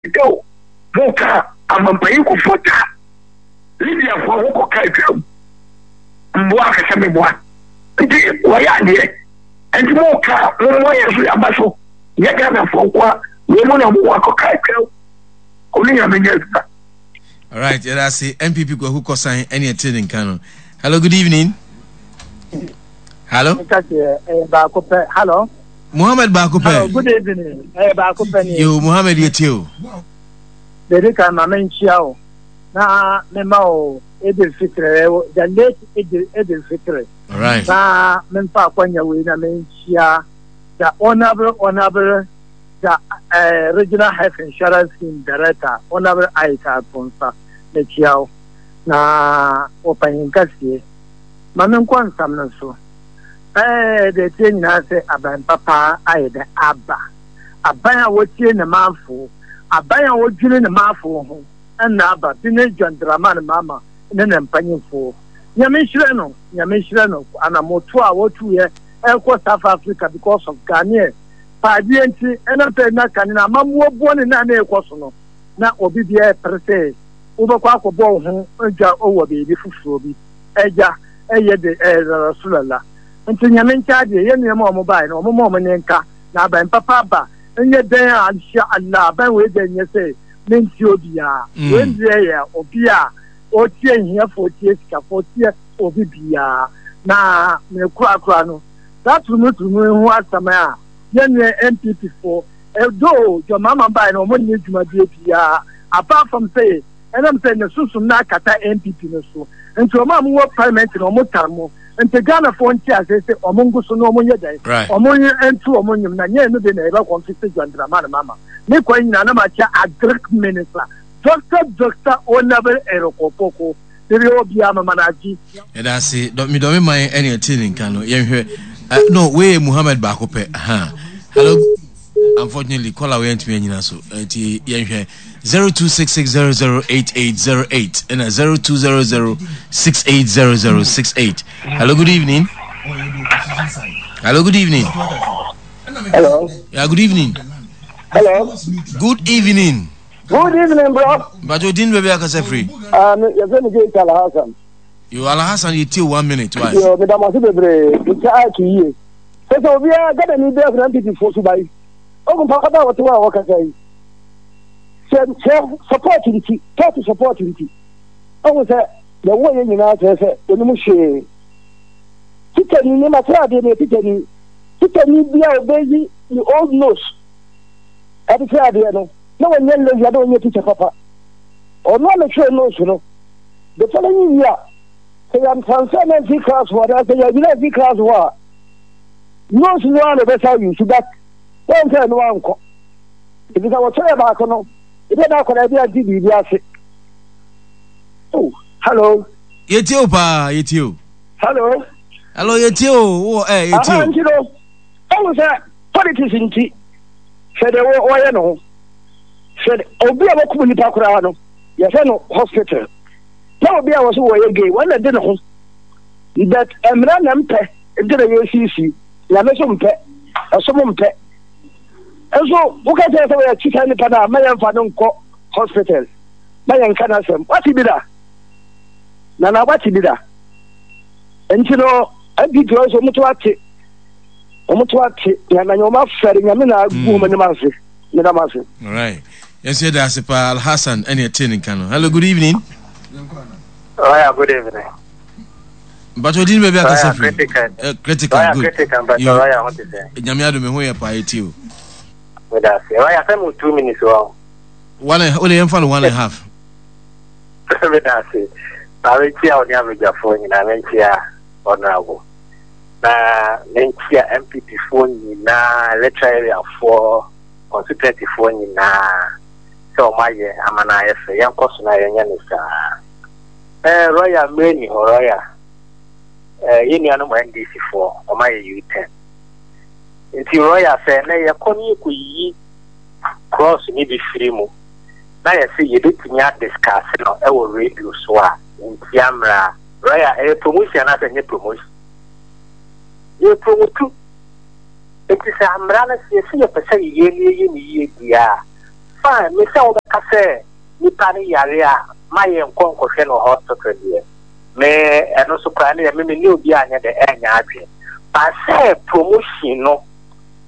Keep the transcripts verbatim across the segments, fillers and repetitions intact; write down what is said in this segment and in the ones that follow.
Dɛw mo ka amampanyin Kufuor ta Libyafoɔ ho kɔka atwam mboa akɛsɛ meboa nti wɔyɛ adeɛ nti mo ka mo mmɔ yɛn so yɛaba so nyɛ Ghanafoɔ nko a wei mu na mo akɔka atwam ɔne Nyame nyɛ adwuma. Alright, yɛda ase N P P Kwaku Kɔsan ɛne ɛte ne nka no. Hello, good evening. Hello. Baako pɛ. Hello. Muhammad baako pɛ. Hello, good evening. Ɛyɛ baako pɛ ni. Yo, Muhammad, yɛ tie o. Dedi kan, ma menkyia o na mema o Idil Fitri, the late Idil Idil Fitri. Alright. Na memfa akwanya wei na menkyia the honourable honourable the uh, Regional Health Insurance Scheme Director, Honourable Aisha Aponsa, mekyia o na wɔpanyin kɛseɛ. Ma menkɔ nsam no so. Ɛɛ deɛ tie nyinaa sɛ aban papa ayɛ dɛ aba, aban a wɔtie ne manfo, aban a wɔdwene ne manfo ho ɛna aba bi ne John Dramani Mahama ne ne mpanyinfoɔ. Nyame nhyerɛ no, Nyame nhyerɛ no. Anamoto a wɔtuyɛ ɛkɔ South Africa because of Ghanaian paadeɛ nti, ɛnam sɛ na kane na amammuo boɔ ne na na ɛkɔ so no na obi biara pere sɛ wobɛkɔ akɔbɔ wo ho dwa wɔ baabi foforɔ bi ɛgya ɛyɛ de ɛyɛ rasulallah. Nti Nyame nkyɛn adeɛ yɛ nneɛma a ɔmo baeɛ no, ɔmo ma ɔmo ne nka na aban papa aba nyɛ dɛn a insha Allah aban wei dɛ nyɛ sɛ mentie obiara. Mm. Wei deɛ yɛ obi a ɔtie hiafoɔ, ɔtie sikafoɔ, ɔtie obi biara. Na mekurakura no saa turumuturumu ho asɛm a yɛn N P P foɔ ɛdo dwamama baeɛ no, ɔmo nyɛ dwumadie biara apart from sɛ ɛnam sɛ ne sunsun na akata N P P no so nti ɔmo a mowɔ parliament no, ɔmo tar mo. Nti Ghanafoɔ nte ase sɛ ɔmo ngu so na ɔmo nyɛ dɛn? Right. Ɔmo nyɛ ntu ɔmo nyim na nyɛ no de na yɛbɛ kɔnfisi John Dramani Mahama ne kwan nyinaa na ma kyɛ Agric Minister, Doctor Doctor Honourable Eric Opoku biribi obiara mama no agye. Yɛda ase medɔme man ɛne ɛte ne nka no. Yɛnhwɛ uh, no wei yɛ Muhammad baako pɛ. Aha. Hello. Unfortunately, caller wei antumi anyina so nti yɛnhwɛ zero two six six zero zero eight eight zero eight ɛna zero two zero zero six eight zero zero six eight. Hello, good evening. Hello, good evening. Hello. Yeah, good evening. Hello. Good evening. Good evening, bro. Bajo din baabi akasa firi? Um, yɛfrɛ me Gate Alhassan. Yo, Alhassan, yɛtie, one minute, why? Yo, meda mo ase bebree. Mekyɛ ato yie. Sɛ sɛ obiara Ghana ni bɛɛ fana N P P fo so ba yi. Ogun papa ba wɔte hɔ a wɔkasa yi. Sɛ sɛ support nti, party support nti. Ɔhu sɛ yɛwɔ yɛ nyinaa kyerɛ sɛ onim hwee. Tikyani ne masra adeɛ ne tikyani. Tikyani bi a ɔbɛyi ne old notes ɛde kyerɛ adeɛ no na wɔnyɛ lazy na wɔnyɛ teacher papa. Ɔno a metwerɛ notes no, the following year sɛ yɛn transfer na mfi class hɔ anaasɛ yɛnyina mfi class hɔ a, notes no a na ɛbɛsa yi so that wɔn sɛ ɛno ankɔ ebi sɛ wɔtwerɛ baako no ebi na akɔda bi ante biribi ase. Oh, hello. Yɛtie o paa, yɛtie o. Hello. Hello, yɛtie o, wowɔ ɛ yɛtie Aha. o. Nti no ɔhu sɛ politics nti sɛ deɛ wɔyɛ no ho sɛ obi a wɔkum nipa koraa no yɛfɛ no hospital na obi a wɔso wɔyɛ gay wɔn na de ne ho, but mmara na mpɛ nti na yɛsiesie. Nyame so mpɛ, ɛsom mpɛ nso woka kyerɛ sɛ wɔyɛ kyi saa nipa no a, ma yɛmfa no nkɔ hospital ma yɛnka no asɛm. Wate bi da nana? Wate bi da? Nti no N P P nso ɔmo ate, ɔmo to ate na na ɔmo afɛre Nyame na agu ɔmo anim ase. Meda mo ase. Alright, yɛnso yɛda ase paa. Alhassan ɛne ɛte ne nka no. Hello, good evening. Oh, yeah, good evening. Mpatwa odin baabi akasa firi? Critical. Eh, critical. Royal. Good. Critical, but Yo. Royal, what is it? Nyame adom, ho yɛ paa, yɛtie o. Meda ase. Royal, sɛ mo two minutes wɔ. One and wode yɛmfa no one and a half. Meda ase. Na menkyia wo ne abadwafoɔ nyinaa, menkyia honorable. Na menkyia N P P foɔ nyinaa, electoral area foɔ, constituency foɔ nyinaa, sɛ ɔmo ayɛ ama no ayɛ fɛ. Yɛnkɔ so na yɛnyɛ ne saa. Eh, Royal, mmerɛ ni hɔ, Royal. Eh, yɛn nuanom N D C foɔ, ɔmo ayɛ U-turn. Nti Royal, sɛ ɛnɛ yɛkɔ ne yɛkɔyiyi cross ne bi firi mu na yɛsɛ yɛbɛtumi adiscuss no ɛwɔ radio so a ntia mmara, Royal, ɛyɛ promotion anaasɛ ɛnyɛ promotion? Yɛ promote. Nti sɛ mmara no sɛ yɛsɛ yɛpɛ sɛ yɛyɛ ne yɛyɛ ne yie deɛ a, Fine, me sɛ wobɛka sɛ nipa ne yare a ma yɛ nkɔ nkɔhwɛ no hospital deɛ, me ɛno so koraa ne yɛ me me ne obi anyɛ dɛ ɛnyɛ adwene. But sɛ promotion no,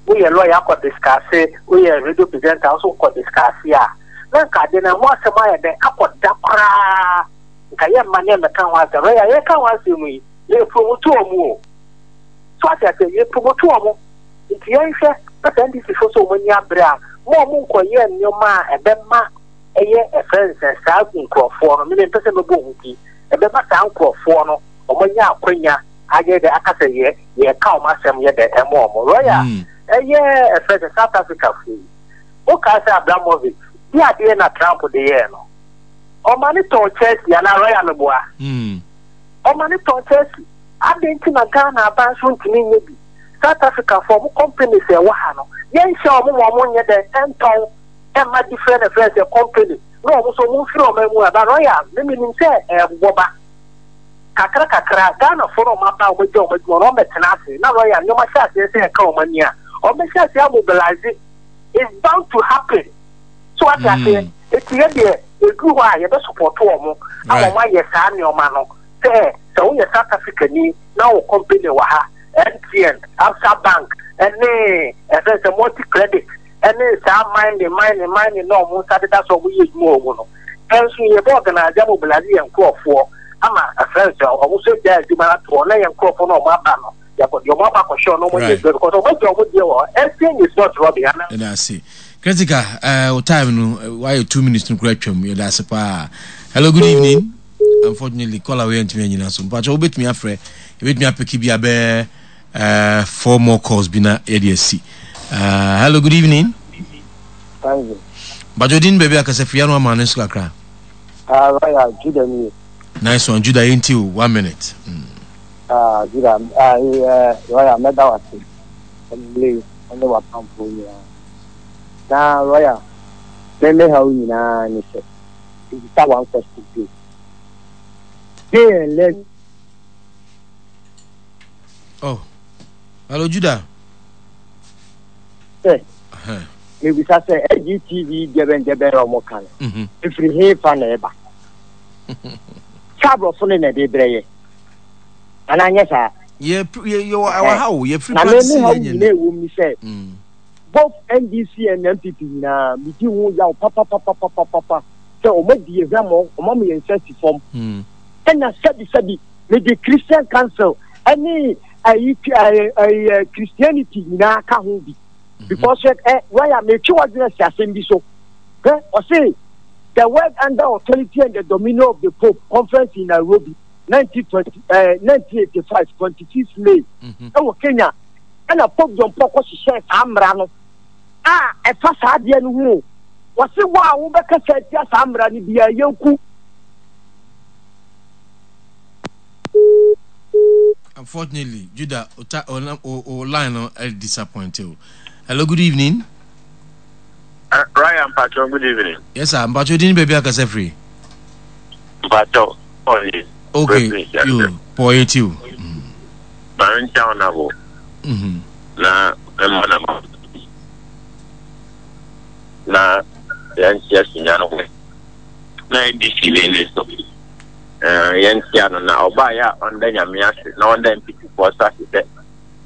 woyɛ lawyer akɔ discuss, woyɛ radio presenter nso kɔ discuss a, na nka ade no ho asɛm ayɛ dɛ akɔda koraa. Nka yɛ mma ne mmɛka ho asɛm. Rɛyɛ yɛka ho asɛm yi, yɛ promote ɔmo o. So ate ase, yɛ promote ɔmo. Nti yɛnhwɛ na sɛ N D C fo sɛ ɔmo ani abere a, mo a ɔmo nkɔyɛ nneɛma a ɛbɛma ɛyɛ ɛfrɛ nsɛ saa nkurɔfoɔ no, mene mpɛ sɛ mɛbɔ ohun ti, ɛbɛma saa nkurɔfoɔ no ɔmo anya akwanya ayɛ dɛ aka sɛ yɛ yɛka ɔmo asɛm yɛ dɛ ɛmo ɔmo royal. Mm. Ɛyɛ ɛfrɛ sɛ South Africa fo yi, wokaa sɛ Abramovich bi adeɛ na Trump de yɛɛ no, ɔma ne tɔn Chelsea anaa royal meboa? Mm. Ɔma ne tɔn Chelsea. Adɛn nti na Ghana aban so ntumi nyɛ bi? South Africa fo, ɔmo companies a ɛwɔ ha no, yɛnhyɛ ɔmo ma ɔmo nyɛ dɛ ɛntɔn ɛma different ɛfrɛ sɛ company na ɔmo nso ɔmo mfiri ɔmo mu aba. Royal, mímí nim sɛ ɛɛbobɔ ba kakra kakra. Ghana fo no, ɔmo aba, ɔmo agya ɔmo adwuma na ɔmo bɛtena ase na royal nneɛma hyɛ aseɛ sɛ ɛka ɔmo ani a, ɔmo bɛhyɛ aseɛ amobilize. It's bound to happen. So ate aseɛ, eti yɛ deɛ eduru hɔ a, yɛbɛ support ɔmo ama Right. ɔmo ayɛ saa nneɛma no sɛ sɛ woyɛ South Africa ni na wo company wɔ ha, M T N, Absa Bank, ɛne ɛfɛ sɛ Multi Credit, ɛne saa mining mining mining na ɔmo nsa deda so ɔmo yɛ adwuma wɔ mu no, ɛnso yɛbɛ organize, amobilize yɛn nkurɔfoɔ ama ɛfɛ sɛ ɔmo nso gya adwuma no ato hɔ na yɛn nkurɔfoɔ na ɔmo aba no, yɛkɔ deɛ ɔmo aba akɔhyɛ ɔno ɔmo yɛ Right. adwuma because ɔmo agya ɔmo deɛ wɔ hɔ. Everything is not robbery ana? Yɛda ase, Kritika. uh, wo time no, uh, wayɛ two minutes no kora twam. Yɛda ase paa. Hello, good evening. Unfortunately, caller wei antumi anyina so. Mpakyɛ, wobɛtumi afrɛ, yɛbɛtumi apick bi abɛɛ uh, four more calls bi na yɛde asi. uh, hello, good evening. Thank you. Mpakyɛ, odin, baabi akasa firi ano ama no nso kakra. Ah, Royal, Judah ni. Nice one, Judah. Yɛnti o, one minute mm. Ah, Judah, ah, eh, Royal, mɛda wase. Ɛnle, ɔne wapamfo nyinaa. Na Royal, me me ha wo nyinaa ne sɛ, ebisa one question bi. Gay and lesbian. Oh, hello, Judah. Sɛ, uh-huh. mebisa sɛ L G T V deɛbɛn deɛbɛn a ɔmo ka no, mm-hmm. efiri he fa na ɛba? Saa aborɔfo no na ɛde brɛ yɛ. Anaa nyɛ saa? yɛ yɛ yɛwɔ ɛwɔ ha o, yɛfiri Na me practice me ha wo yɛ nyɛ. nyinaa ɛwɔ mu ni sɛ, Mm. both N D C and N P P nyinaa, medi ho yaw papapapapapa sɛ ɔmo di yɛ hwɛmɔ, ɔmo ama yɛn nsa si fam. Mm. Ɛna sɛbisɛbi, mede Christian Council ɛne ayi ɛɛ ɛyɛ Christianity nyinaa ka ho bi because ɛ waya metwe wadwene si asɛm bi so hɛ. Ɔse the World Under Authority and the Dominion of the Pope conference in Nairobi, nineteen twenty ɛɛ nineteen eighty-five, twenty-six May, Mhm. ɛwɔ Kenya, ɛna Pope John Paul kɔ hyehyɛ saa mmara no a ɛfa saa adeɛ no ho o. Wɔse wo a wobɛkasa atia saa mmara no biara, yɛnku. Unfortunately, Judah, o, o, o, o line no uh, disappoint you. Hello, good evening. Uh, Ryan Mpacho, good evening. Yes sir. Mpacho, din, baabi akasa firi? Mpacho, Paul. Okay, yo Paul, yɛ ti o. Maame nkyɛn honorable. Mhm. Na mma na ma. Na yɛnkyia sunya no ho. Na N D C ne ne so. Eh, yɛnkyia no na ɔbaa yɛ a, ɔnda Nyame ase na ɔnda N P P foɔ so ase sɛ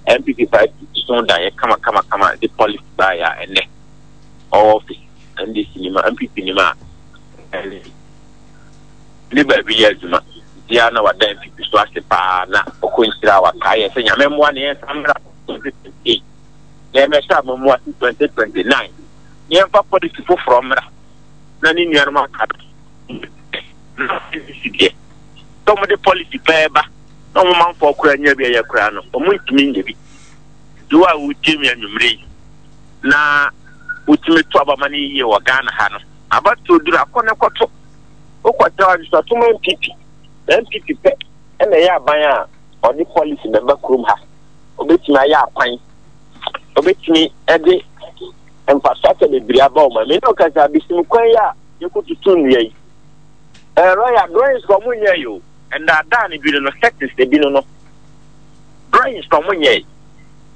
N P P party so da yɛ kama kama kama de policy baa yɛ a ɛnɛ ɔwɔ office. N D C nim a, N P P nim a, ɛne ne baabi yɛ adwuma nti na wada N P P so ase paa na ɔkɔ nhyira a wakae yɛ sɛ Nyame mmoa ne yɛnsa mmra twenty twenty-eight na yɛmɛhyɛ amamu ase twenty twenty-nine na yɛmfa policy foforɔ mmra na ne nuanom aka na N D C deɛ sɛ ɔmode policy pɛɛ ba na ɔmo manfoɔ koraa nya bi a yɛ koraa no, ɔmo ntumi nyɛ bi. Nti wo a wotie mi anwummerɛ yi na wotumi to abama no yie wɔ Ghana ha no, abatoɔ duru akɔ ne kɔto, wokɔtɛ adesatoma N P P na N P P pɛ ɛna ɛyɛ aban a ɔde policy bɛba kurom ha, obɛtumi ayɛ akwan, obɛtumi ɛde infrastructure bebree aba ɔma mi ne ɔkasa abesim kwan yi a yɛkɔtutu nnua yi. Ɛɛ royal, drawings ka ɔmo nyɛ yi o, ndaadaa no bi no no settings ebi no no drawings ka ɔmo nyɛ yi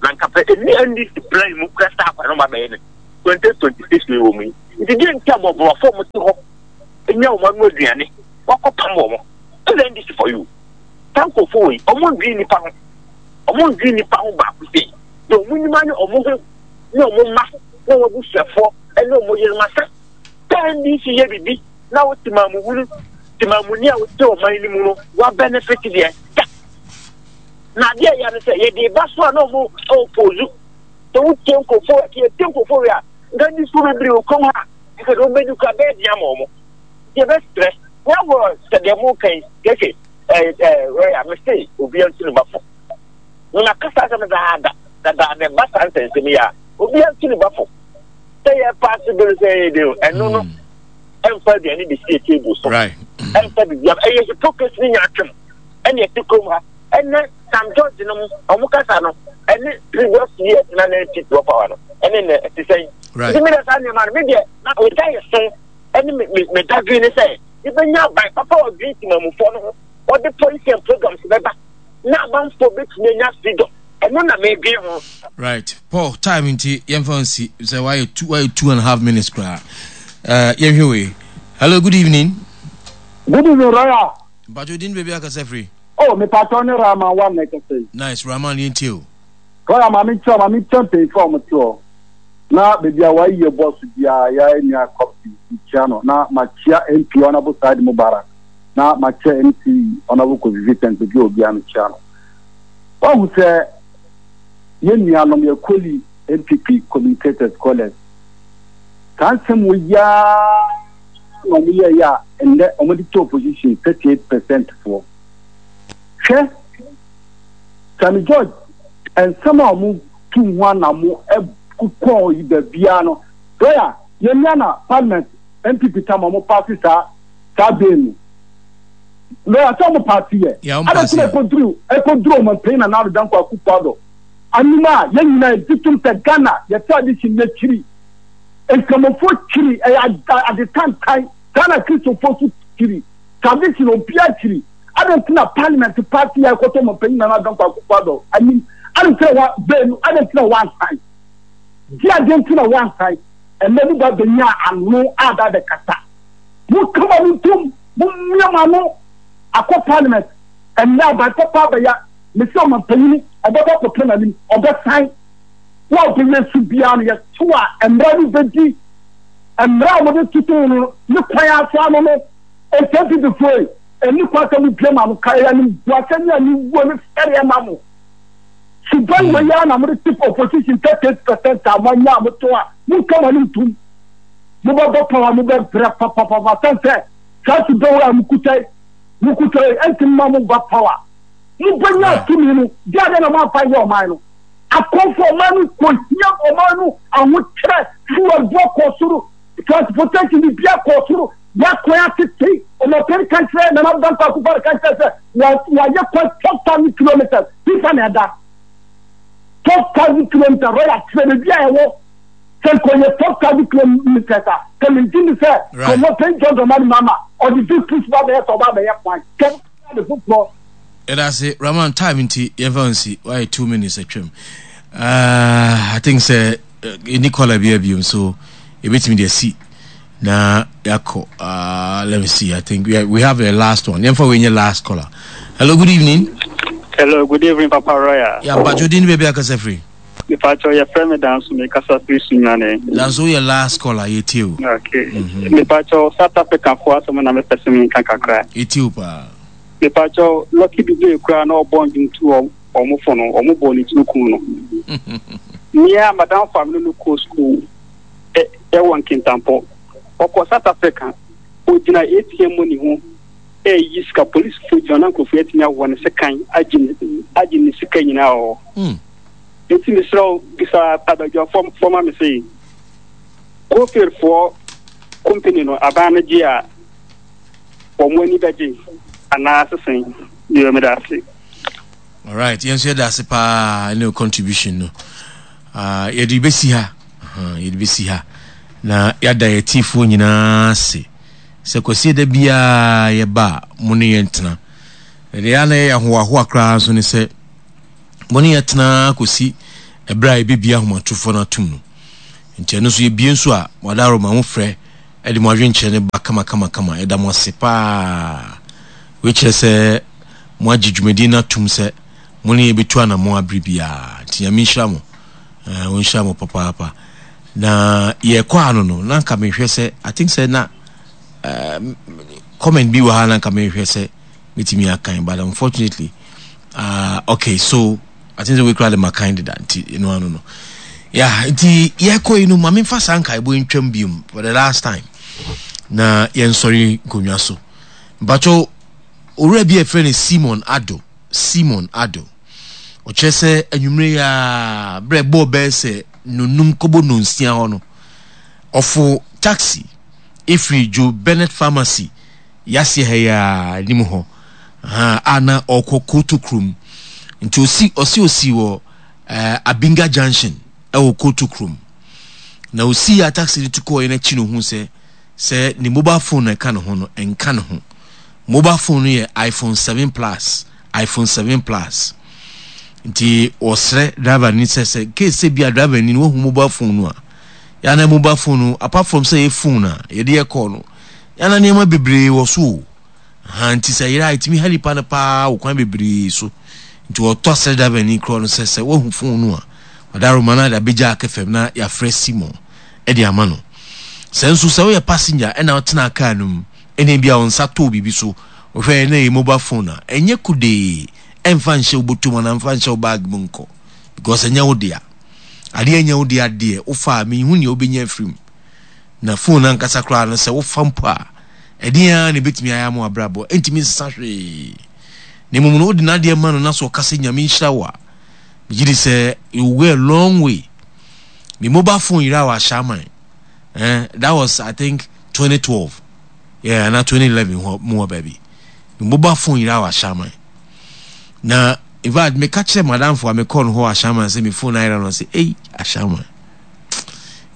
na nka pɛ ɛni N D C plan mu kura saa akwan no ma bɛyɛ no. twenty twenty six wei wɔ mu yi. Nti deɛ nti a mmɔborɔfoɔ a wɔte hɔ nya wɔn ano aduane wakɔpam wɔn. This is N D C for you. Saa nkurɔfoɔ wei, wɔn ndwene nipa ho. Wɔn ndwene nipa ho baako sei. Deɛ wɔn nim ne wɔn ho ne wɔn mma ne wɔn abusuafoɔ ne wɔn yerenom asa. Sɛ N D C yɛ biribi na wo temamuhunu temamuni a wote ɔman no mu no wa benefit deɛ da. Na adeɛ a ɛyɛ no sɛ yɛde ba so a na wɔn oppose. Sɛ wotie nkurɔfoɔ, yɛtie nkurɔfoɔ wei a, nka ndi so bebree wɔ kurom ha. Nka deɛ wɔbɛdi kora bɛyɛ den ama wɔn. Yɛbɛsrɛ wɔwɔ sɛ deɛ mo kan keke ɛɛ ɛɛ rɔya mese obiara ntu ne ba fo. Na kasa asɛm daada dadaada ɛba saa nsɛnsɛm yi a, obiara ntu ne ba fo. Sɛ yɛ pass bill sɛ yɛ de ɛno no ɛmfa aduane de sie table so. Ɛmfa biribiara, ɛyɛ hypocrisy ne nyaatwom ɛne ɛte kurom ha. Ɛnɛ Sam George no ɔmo kasa no ɛne previous years na na N P P wɔ power no ɛne nɛ ɛte sɛn? Nti mi dɛ saa nneɛma no, mi deɛ na meda yɛ so ɛne me me me dadwene ne sɛ yɛbɛnya aban papa a ɔdwene temamufoɔ no ho, ɔde policy and programs bɛba na amanfoɔ bɛtumi anya freedom. Ɛno na medwene ho. Right, Paul, time nti yɛmfa nsi sɛ wayɛ two wayɛ two and a half minutes koraa. uh, yɛnhwɛ wei. Hello, good evening. Good evening, Royal. Mpatwo din, baabi akasa firi? Oh, mepatwo ne Rahman wa na ɛkasa yi. Nice, Rahman, yɛntie o. Royal, maame nkyerɛ, maame nkyerɛ mpanyinfoɔ a wɔte hɔ na baabi a wɔayi yɛ bɔ so biara, yɛ nua kɔpi nkyia no na makyia M P Honourable Said Mubarak na makyia M C Honourable Kofi Vincent, baabi a obiara mekyia no. Wahu sɛ yɛn nuanom yɛ colleague N P P communicators, scholars, saa nsɛm wɔ yiaa na wɔn yɛ yɛ a nnɛ wɔde to opposition thirty eight percent foɔ. Hwɛ, Sammy George, nsɛm a wɔn tu ho anamo ɛkokɔ yi baabiara no, lawyer, yɛn nua na parliament N P P tam a wɔn pass saa saa bill no, lawyer, sɛ wɔn pass yɛ Yeah, wɔn pass adɛ yɛ. Ɛkɔduru ɛkɔduru wɔn panyin na Nana Addo Dankwa Akufo-Addo anim a yɛn nyinaa yɛgye tom sɛ Ghana yɛ tradition, yɛkyiri Nkramofoɔ, kyiri ɛyɛ ade tantan. Ghana Kristofoɔ so kyiri tradition, obiara kyiri. Adɛ nti na parliament pass yɛ ɛkɔtɔ wɔn panyin Nana Addo Dankwa Akufo-Addo anim? Adɛ nti na wa bɛɛ no? Adɛ nti na wansan di adeɛ nti na wansan? Ɛnɛ mo ba bɛnya ano a ba bɛkasa, mo kama no ntom, mo mmea mo ano akɔ parliament. Ɛnɛ aban papa abɛya mesi ɔman panyin ɔbɛbɔ akɔtɔ n'anim, ɔbɛsan wo a ɔbɛyɛ su biara no yɛto a mmara no bɛdi mmara a wɔde toto no ne kwan aso ano no. Nti N P P foɔ yi ɛni kwan sɛ mo bie ma no ka ɛyɛ anim buasɛ ne aniwuo ne fɛreɛ ma mo suban wɔ yi a na mode tip opposition thirty eight percent a moanya a moto a monka mo anim tom. Mobɛbɔ power, mobɛbrɛ papapapa sɛn sɛ saa suban wɔ a mokuta yi mokuta yi ɛnti mma mo ba power. Mobɛnya tumi no de adeɛ na moamfa nyɛ ɔman no akɔmfo. Ɔman no kɔhia, ɔman no ahokyerɛ, fuel boɔ kɔ soro, transportation bibia kɔ soro, yɛakwan atete. Ɔmɔpɛn ka kyerɛ Nana Dankwa Akufo-Addo ka kyerɛ sɛ wayɛ kwan twelve thousand kilometres. Fifa na ɛda twelve thousand kilometres, royal, kyerɛ baabi a ɛwɔ sɛ nkɔyɛ twelve thousand kilometres a kɛmɛ ni sɛ ɔmɔpɛn John Dramani Mahama ɔde district ba bɛyɛ sɛ ɔba bɛyɛ kwan kɛmɛ de foforɔ. Yɛda ase, Rahman. Time nti yɛmfa nsi, wayɛ two minutes atwam. uh, i think sɛ ɛni caller bi abiom so yɛbɛtumi de asi na yɛakɔ. uh, let me see, I think we, are, we have a last one. Yɛmfa wei nyɛ last caller. Hello, good evening. Hello, good evening, Papa Royal. Yeah, mpatwo din, baabi akasa firi? Mepatwo, yɛfrɛ me Danso, mekasa firi Sunyane. Danso, woyɛ last caller, yɛtie o. Okay. Mepatwo, South Africa foɔ asɛm na mepɛ sɛ menka kakra. Yɛtie o paa. Mepatwo, Lucky Dube koraa na ɔbɔ ndwomtu ɔmo fo no, ɔmo bɔ ne tiri kum no. Mmea madam fa me no kɔ school ɛwɔ Nkintampɔ. Ɔkɔ South Africa, ogyina A T M money ho ɛyi sika, polisifoɔ gyina na nkurɔfoɔ atumi awɔ ne sekan agye ne agye ne sika nyinaa wɔ hɔ. Nti mesrɛ wo, bisa abadwafoɔ fɔma me sɛ Goldfieldsfoɔ company no, aban no gye a wɔn ani bɛgye anaa sesen deɛ? Meda ase. Alright, yɛn nso yɛda ase paa ne contribution no. uh, yɛde bɛsi ha uh, yɛde bɛsi ha na yɛada yɛ tiefoɔ nyinaa ase sɛ Kwasi da biara yɛba a mo ne yɛn tena. Ɛdeɛ yɛ na yɛyɛ ahoahoa koraa nso ne sɛ mo ne yɛ tena kɔsi ɛberɛ a yɛbɛbia ahomatorofoɔ no atom no. Nti ɛno nso yɛbie nso a, mo adaworoma mo frɛ de mo adwenkyerɛ no ba kamakamakama. Yɛda mo ase paa. Wei kyerɛ sɛ mo agye dwumadie no atum sɛ mo ne yɛbɛtu anammɔn abere biara. Nti Nyame nhyira mo. Eh, ɔnhyira mo papaapa. Na yɛkɔ ano no, na nka mehwɛ sɛ, I think sɛ na eh, comment bi wɔ ha na nka mehwɛ sɛ metumi akan, but unfortunately, uh, okay, so I think sɛ wei koraa de makan deda, nti ɛno ano no. Yeah, nti yɛkɔ yi no, ma memfa saa nkaebɔ ntwam biom for the last time na yɛnsɔre nkonnwa so. Mpakyɛw, owura bi a yɛfrɛ no Simon Addo, Simon Addo, ɔkyerɛ sɛ anwummere yi ara, berɛ ɛbɔɔ bɛyɛ sɛ nnɔnnum kɔbɔ nnɔnsia hɔ no, ɔfo taxi ɛfiri Joe Bennett Pharmacy yaseɛ ha yi ara anim hɔ, a na ɔrekɔ Koto kurom. Nti osi, ɔsi osi wɔ eh, Abinga Junction ɛwɔ Koto kurom. Na osi a taxi no tu kɔɔ yɛn akyi no hu sɛ sɛ ne mobile phone na ɛka ne ho no, ɛnka ne ho. Mobile phone no yɛ iPhone seven plus, iPhone seven plus. Nti wɔsrɛ driver ni sɛ sɛ case sɛ bi a driver ni no wahu mobile phone no a, yana mobile phone no apart from sɛ yɛ phone a yɛde yɛ call no, yana nneɛma bebree wɔ so o. Ha nti sɛ yɛrɛ a ɛtumi ha nipa no paa wɔ kwan bebree so. Nti wɔtɔ srɛ driver ni korɔ no sɛ sɛ wahu phone no a, ɔdaroma no de abɛgya akɛfam na yɛafrɛ Simon de ama no. Sɛ nso sɛ woyɛ passenger ɛna wotena car no mu ɛna ebi a wo nsa tɔɔ biribi so, wohwɛ na ɛyɛ mobile phone a, ɛnyɛ kodee, ɛmfa nhyɛ wo bɔtɔ mu anaa mfa nhyɛ wo bag mu nkɔ because ɛnyɛ wo dea. Adeɛ ɛnyɛ wo dea deɛ wofa a menhu nea wobɛnya afiri mu. Na phone ankasa koraa no sɛ wofa mpo a, ɛdeɛn ara na ɛbɛtumi ayɛ ama w'abrabɔ, ɛntumi nsesa hwee. Na mmom no wode n'adeɛ ma no na sɛ ɔka sɛ Nyame nhyira wo a, megye di sɛ you will go a long way. Me mobile phone yera wɔ Ashaiman. Eh, that was I think twenty twelve. Yeah, na twenty eleven hɔ mu hɔ baabi. Me mobile phone yera wɔ Ashaiman. Na in fact me ka kyerɛ madamfo a me kɔɔ no hɔ wɔ Ashaiman sɛ me phone ayera no sɛ ei Ashaiman.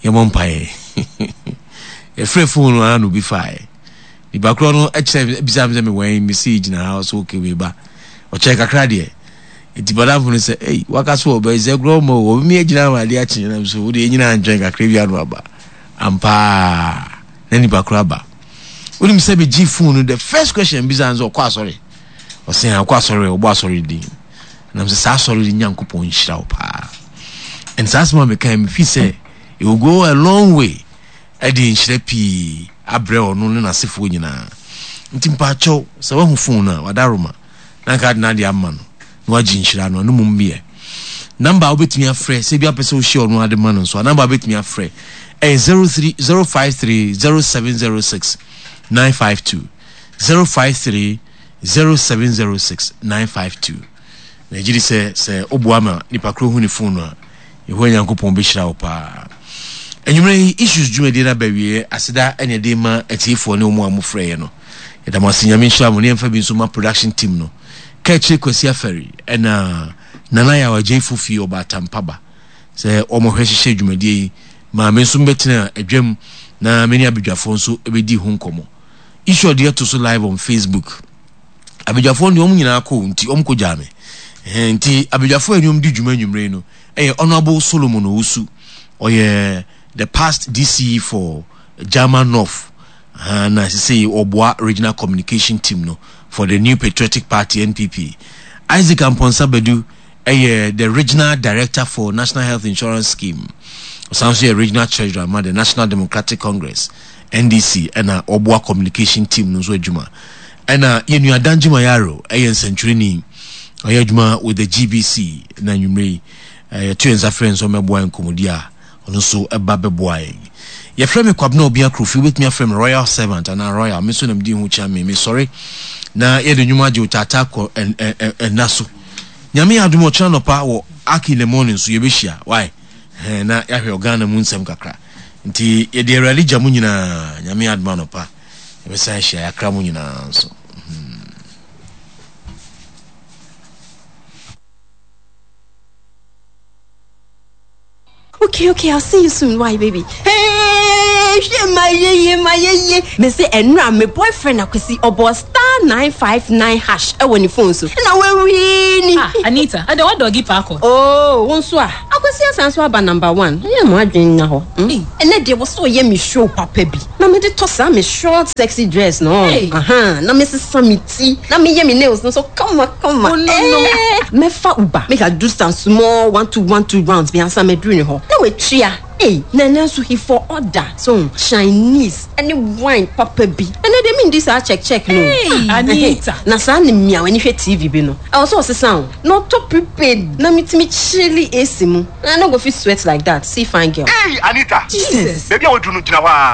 Yɛmmɔ mpaeɛ. Yɛfrɛ phone no ara na obi faeɛ. Nipa korɔ no kyerɛ bisa me sɛ me wɛn me si gyina ha so okay me ba. Ɔkyerɛ kakra deɛ. Nti madamfo no sɛ ei waka so ɔbɛ sɛ korɔ ma o ɔbɛmi agyina ama adeɛ akye nam so wode ɛnyina ntwɛn kakra bi ano aba. Ampaa na nipa korɔ aba. Wonim sɛ megye phone no the first question bisa no sɛ ɔkɔ asɔre. Ɔsɛ ɔkɔ asɔre ɔbɔ asɔre din. Nam sɛ saa asɔre no Nyankopɔn nhyira wo paa. And saa asɛm a mekae mefi sɛ it will go a long way ɛde nhyira pii abrɛ ɔno ne n'asefoɔ nyinaa. Nti mpaakyɛw sɛ wahu phone no a wadaroma na nka ade n'ade ama no na wagye nhyira no ɛno mmom yɛ. Number a wobɛtumi afrɛ sɛ bi apɛ sɛ wohyia ɔno ade ma no nso a number a wobɛtumi afrɛ ɛyɛ zero three zero five three zero seven zero six nine five two zero five three zero seven zero six nine five two. Na gye di sɛ sɛ woboa ma nipa koro hu ne phone no a, Yehowa Nyankopɔn bɛhyira wo paa. Anwummerɛ yi issues dwumadie no aba awieɛ. Aseda ɛne ɛde ma atiefoɔ ne wɔn a mofrɛeɛ no. Yɛda mo ase, Nyame nhyira mo. Ne yɛmfa bi nso ma production team no. Kaakyire Kwasi Afari ɛna Nana Yaw Agyei Fofie Ɔbaatan Paba sɛ wɔn hwɛ hyehyɛ dwumadie yi ma me nso mbɛtena adwam na me ne abadwafoɔ nso bɛdi ho nkɔmmɔ. Issue ɔde ato so live on Facebook. Abadwafoɔ no deɛ wɔn nyinaa kɔ nti wɔn kɔ gyaa me. Nti abadwafoɔ a ɛne wɔn di dwuma anwummerɛ yi no ɛyɛ Honourable Solomon Owusu. Ɔyɛ the past D C E for Jama North. Na sisi ɔboa regional communication team no for the New Patriotic Party N P P. Isaac Amponsah Badu ɛyɛ the regional director for National Health Insurance Scheme. Ɔsan nso yɛ regional treasurer ma the National Democratic Congress N D C ɛna ɔboa communication team no nso adwuma. Ɛna yɛn nua Danjuma Yaro ɛyɛ nsɛntwerɛni, ɔyɛ adwuma with the G B C na anwummerɛ yi yɛto yɛn nsa frɛ nso ɔmmɛboa yɛn nkɔmmɔdi a ɔno nso ɛba bɛboa yɛn. Yɛfrɛ me Kwabena Obia Kofi, wobɛtumi afrɛ me Royal Servant anaa Royal, me nso na medi ho kyia me, mesɔre na yɛde nnwom agye wo taataa kɔ ɛnna so. Nyame yɛ adom ɔkyena nɔpa wɔ Ark in the morning so yɛbɛhyia, why? Na yɛahwɛ Ɔghana mu nsɛm kakra. Nti yɛde Awurade gya mu nyinaa, Nyame yɛ adom anɔpa yɛbɛsan ahyia, yɛakra mu nyinaa nso. Hmm. Okay, okay, I'll see you soon. Why, baby? Hey! Mehwɛ ma yeye ma yeye. Me se ɛnura me boyfriend Akwasi ɔbɔ star nine five nine hash ɛwɔ ne phone so. Ɛna wawini. Ah, Anita, ɛdɛ wa dɔgi paakɔ. Oh, wo nso a. Akwasi asan so aba number one. Ɛyɛ mo adwene nya hɔ. Hmm? Ɛnɛ deɛ wɔ sɛ ɔyɛ me show papa bi. Na mede tɔ saa me short sexy dress no. Hey. Aha, na mesesa me ti. Na meyɛ me nails no so kama kama. Oh, no, no. Eh, mɛfa Uber. Make I do some small one two one two rounds bi ansa mɛduru ne hɔ. Na watua. Hey, na ɛnɛ nso he for order. So, Chinese ɛne wine papa bi. Ɛnɛ deɛ mendi saa check check no. Hey, Ah, Anita. ɛhɛ. Na saa ne mmea w'ani hwɛ TV bi no. Ɛwɔ sɛ ɔsesa o. Na ɔtɔ prepaid na metumi chilli AC mu. Na I no go fit sweat like that. See fine girl. Hey, Anita. Jesus. Baabi a waduru no gyina hɔ a.